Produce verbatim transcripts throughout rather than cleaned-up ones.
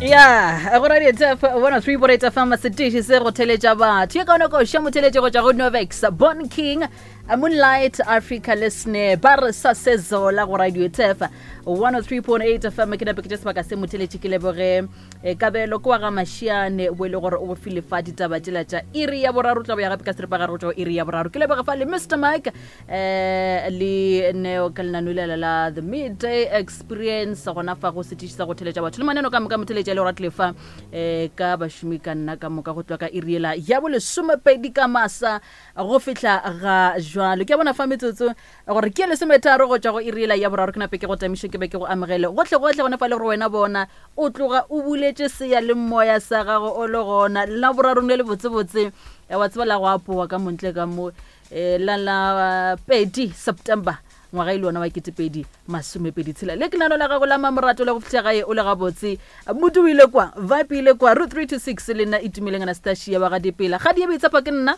Ya go radio tf one oh three point eight F M, setiši se go theletša batho ye kaone koša motheletše go tšwa go Novex, Bon King, Moonlight Africa le Sne ba re sa sezola go radio tf one oh three point eight F M. Ke nape ke tše sebaka se motheletše ke leboge eh, Kabelo ke wa ga Mašiane bo e le gore o bofile fa ditaba tšela tša iri ya boraro, tla bo ya gape ka seripagare go tšwa go iri ya boraro. Ke leboge fa le Mister Mike eh, le Neo ka lenanulela la The Midday Experience gona fa go setiši sa go theletša batho le maneno ka moka motheletša le gore tlile fa eh, ka bašomi ka nna ka moka go tloga ka iri ela ya bolesomepedi ka masa go fihla ga jwalo. Ke a bona fa metsotso gore ke lesometharo go tšwa go iri ela ya boraro, ke nape ke go tamiše ke be ke go amogele gohle gohle gona fa le gore wena bona o tloga o buletše seya le moya sa gago o le gona la borarong le le botsebotse wa tseba la go apowa ka montle ka mo eh, la la pedi September ngwaga e le wona wa ketepedi masomepedi tshela. Le ke nano la gago la mamorato la go fihla gae o le gabotse, modu o ile kwa, vibe ile kwa, root three two six le nna Itumeleng Anastasia wa ga Dipela. Ga di e boitshepa ke nna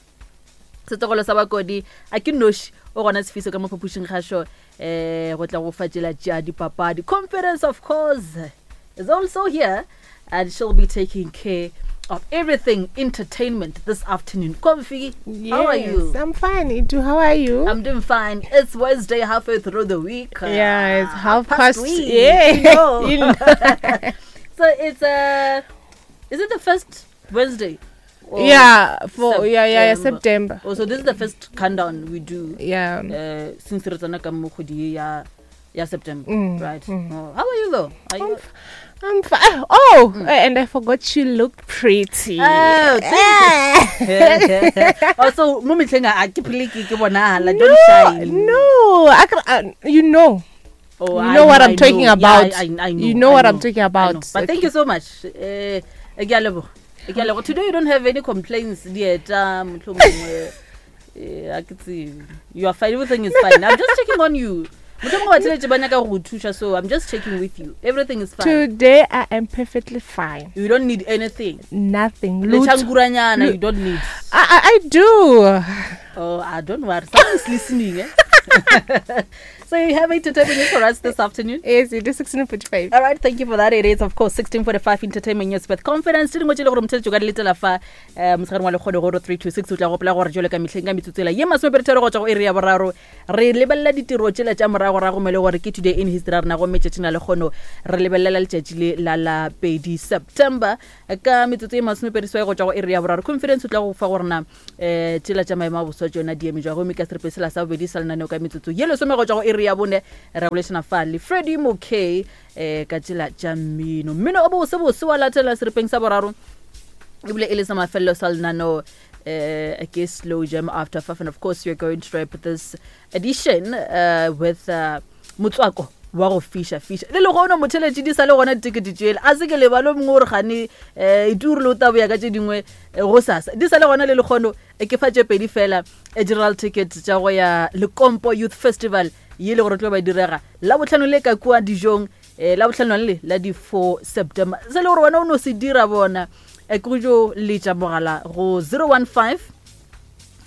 setlogolo sa bakodi a ke noši o gona sefiso ka mo phapošing kgašo eh go tla go fa tšela tša dipapadi. Conference of course is also here and she'll be taking care of everything entertainment this afternoon. Comfy, how are you? Yes, I'm fine. Itu, how are you? I'm doing fine. It's Wednesday, halfway through the week. Yeah, it's half past past. week. Yeah. You know. You know. So it's uh, is it the first Wednesday? Or Yeah, for yeah, yeah, yeah, September. September. Oh, so this is the first countdown we do. Yeah. Uh, since re tsena ka mo kgwedi ya, ya September, Mm, right? mm. Oh, how are you though? Are you I'm f-, I'm fine. Oh, mm. And I forgot you looked pretty. Oh, thank you. Also, mo mehleng a ke phele ke ke bonahala, don't No, shine. no, I can, uh, you know. Oh, You I know what know, I'm I talking know. about. Yeah, I, I, I know, You know I what I'm know, talking I about. know. But thank you so much. Eh, ke a leboha. Ke a leboha. Today you don't have any complaints, dieta, mohlomongwe. Eh, ha ke tsebe. You are fine. Everything is fine. I'm just checking on you. Mohlomongwe ba tšhelete ba nyaka go go thuša, so I'm just checking with you. Everything is fine. Today I am perfectly fine. You don't need anything. Nothing. Le Lutho. tšhanguranyana, Lu- you don't need. I, I, I do. Oh, I don't worry. Someone's listening. Eh? So you have entertainment news for us this afternoon? Yes, it is sixteen forty-five. All right, thank you for that. It is, of course, sixteen forty-five Entertainment News with Confidence. Tše dingwe tše le gore motheletši o ka di letela fa, eh, motshegareng wa lekgono go three two six, o tla gopola gore jwalo ka mehleng ka metsotso ela ye masomepedi tharo go tšwa go iri ya boraro, re lebelela ditiro tšela tša moragorago mo e le gore ke today in history ya rena, gomme tšatšing la lekgono re lebelela letšatši le la la pedi September ka metsotso ye masomepedi seswai go tšwa go iri ya boraro. Confidence o tla go fa gore na, eh, tšela tša maemo a boswa tšona di eme jwang, gomme ka seripe sela sa bobedi sa lenaneo ka metsotso ye lesome go tšwa go iri ya bone re bolešana fa le Freddy Mokay, eh, ka tsela tša mmino. Mmino o bose bose wa latela seripeng sa boraro ebile e le sa mafelelo sa lenaneo, eh, ke Slow Jam After Five, and of course we're going to wrap this edition, uh, with, uh, motswako wa go fiša fiša. Le lehono motheletši di sa le gona ditekete tšele, a se ke lebalo mongwe gore gane, eh, ituri le o tla boya ka tše dingwe, eh, go sasa. Di sa le gona le lehono, eh, ke fa tše pedi fela, eh, general ticket tša go ya Lekompo Youth Festival ye le gore tlo ba direga la bohlano le ka kua dijong, eh, la bohlano le la di four September. Se le gore wena o no se dira bona, eh, ke go jo letša mogala go zero one five,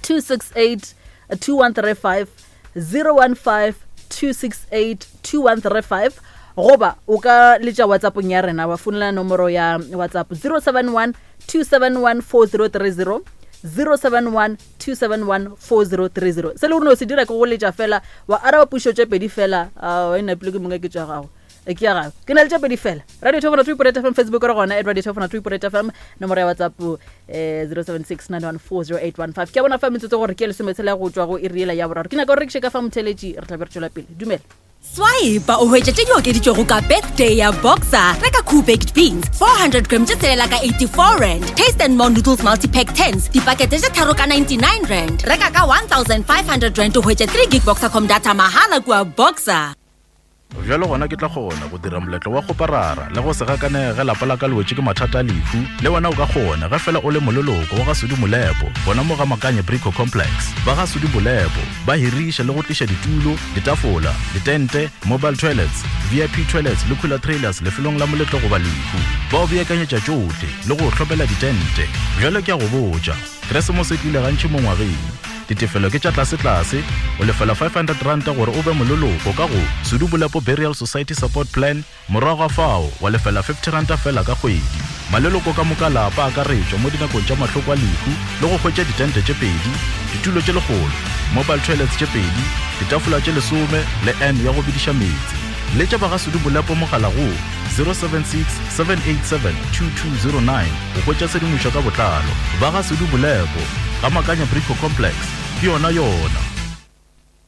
two six eight, two one three five, zero one five, two six eight, two one three five, goba o ka letša WhatsApp-ong ya rena wa founela nomoro ya WhatsApp zero seven one, two seven one, four zero three zero, zero seven one, two seven one, four zero three zero. Se le gore no se dira ke go letša fela wa araba pušo tše pedi fela, a, wa e napile ke mongwe ke tša gago. E ke ya gago. Ke na le tše pedi fela. Radio Top one three point eight F M, Facebook re gona at Radio Top one three point eight F M, nomoro ya WhatsApp, eh, zero seven six nine one four zero eight one five. Ke a bona fa metsotso gore ke lesometshela go tšwa go iri yela ya boraro. Ke nyaka gore re rekiše ka fa motheletši, re tla be re tšwela pele. Dumela. Swipe o hwetše tše di okeditšwego ka birthday ya Boxer. Reka Cool Baked Beans four hundred grams tše tshelela ka eighty-four rand. Taste and More Noodles Multi-Pack tens dipakete tše tharo ka ninety-nine rand. Reka ka one thousand five hundred rand o hwetše three gig Boxercom data mahala kua Boxer. Bjalo gona ke tla kgona go dira moletlo wa go parara le go se gakanege lapa la ka le wetše ke mathata a lehu. Le wena o ka kgona ge fela o le moleloko wa ga Sudi Molepo, gona mo ga Makanye Brico Complex. Ba ga Sudi Molepo ba hiriša le go tliša ditulo, ditafola, ditente, mobile toilets, V I P toilets le cooler trailers lefelong la moletlo goba lehu. Ba o beakanyetša tšohle le go o hlopela ditente. Bjalo ke a go botša, Keresemose e tlile gantši mo ngwageng. Ditefelo ke tša tlasetlase, o lefela five hundred ranta gore o be moleloko ka go Sudu Bolepo Burial Society Support Plan, morago ga fao wa lefela fifty ranta fela ka kgwedi. Maleloko ka moka lapa a akaretšwa mo dinakong tša mahloko a lehu le go hwetša ditente tše pedi, ditulo tše lekgolo, mobile toilets tše pedi, ditafola tše lesome le N ya go bidiša meetse. Letša ba ga Sudu Bolepo mogala go zero seven six, seven eight seven, two two zero nine go hwetša tshedimošo ka botlalo. Ba ga Sudu Bolepo, ga Makanya Brico Complex, ke yona yona.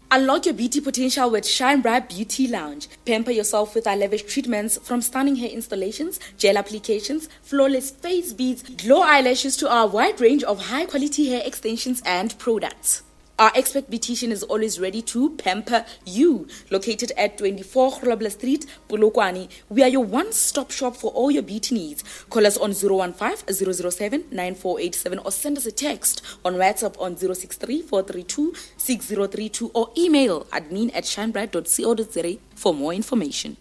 Unlock your beauty potential with Shine Bright Beauty Lounge. Pamper yourself with our lavish treatments, from stunning hair installations, gel applications, flawless face beads, glow eyelashes to our wide range of high-quality hair extensions and products. Our expert beautician is always ready to pamper you. Located at twenty-four Grobler Street, Polokwane, we are your one-stop shop for all your beauty needs. Call us on zero one five, zero zero seven, nine four eight seven or send us a text on WhatsApp on zero six three, four three two, six zero three two or email admin at shinebright dot co dot za for more information.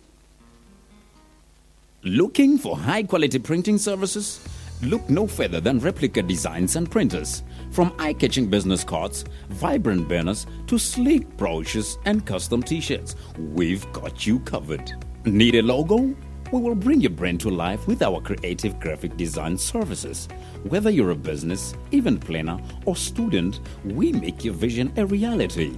Looking for high-quality printing services? Look no further than Replica Designs and Printers. From eye-catching business cards, vibrant banners, to sleek brochures and custom t-shirts, we've got you covered. Need a logo? We will bring your brand to life with our creative graphic design services. Whether you're a business, event planner, or student, we make your vision a reality.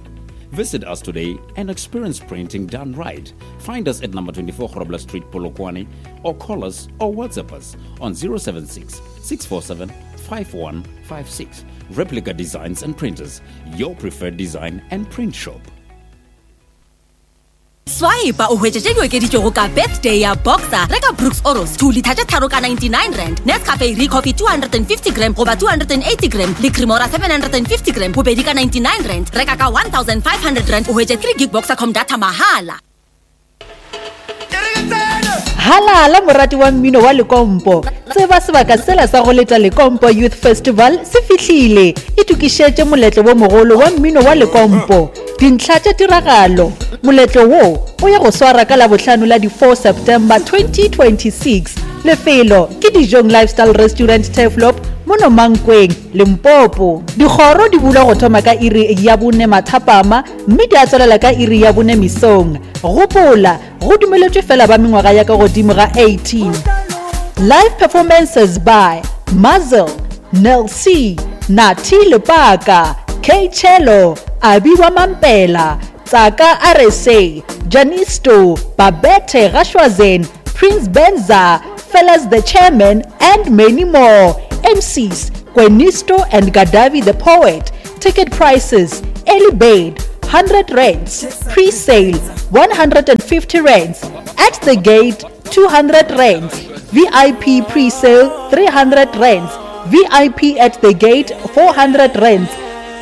Visit us today and experience printing done right. Find us at number twenty-four Grobler Street, Polokwane, or call us or WhatsApp us on zero seven six, six four seven, five one five six. Replica Designs and Printers, your preferred design and print shop. Swipe o hwetše tše di okeditšwego ka birthday ya Boxer. Reka Brooks Oros two liter tše tharo ka ninety-nine rand, Nescafe Recoffee two hundred and fifty gram goba two hundred and eighty gram le Cremora seven hundred and fifty gram bobedi ka ninety-nine rand. Reka ka one thousand five hundred rand o hwetše three gig Boxercom data mahala. Halala morati wa mmino wa Lekompo. Tseba sebaka sela sa go leta Lekompo Youth Festival se fihlile. Itokišetše moletlo wo mogolo wa mmino wa Lekompo. Dintlha tša tiragalo. Moletlo wo o ya go swara ka Labohlano la di four September twenty twenty-six. Lefelo ke Dijong Lifestyle Restaurant Turfloop mono Mankweng, Limpopo. Dikgoro di bulwa go thoma ka iri ya bone mathapama mme di a tswelela ka iri ya bone mesong. Gopola, go dumeletšwe fela ba mengwaga ya ka godimo ga eighteen. Live performances by Muzzle, Nel C, Nati Lepaka, K Cello, Abiwa Mampela, Tsaka R S A, Janisto, Babette Rashwazen, Prince Benza, Fellas the Chairman, and many more. M Cs, Gwenisto and Gadavi the Poet. Ticket prices, early bird, hundred rands, pre-sale, one hundred and fifty rands, at the gate, two hundred rands, V I P pre-sale, three hundred rands, V I P at the gate, four hundred rands.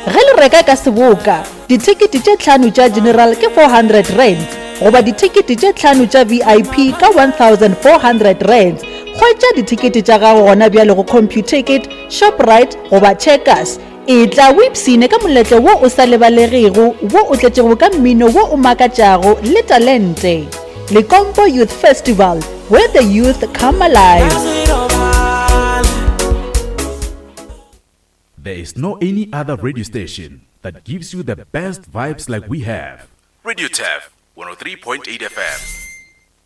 Ge le reka ka seboka, dithekete tše tlhano tša general ke four hundred rands, goba dithekete tše tlhano tša V I P ka one thousand four hundred rands. Hwetša dithekete tša gago gona bjale go Computicket, Shoprite goba Checkers. E tla o ipshine ka moletlo wo o sa lebalegego, wo o tletšego ka mmino wo o makatšago le talente. Lekompo Youth Festival, where the youth come alive. There is no any other radio station that gives you the best vibes like we have. Radio T E F one oh three point eight F M.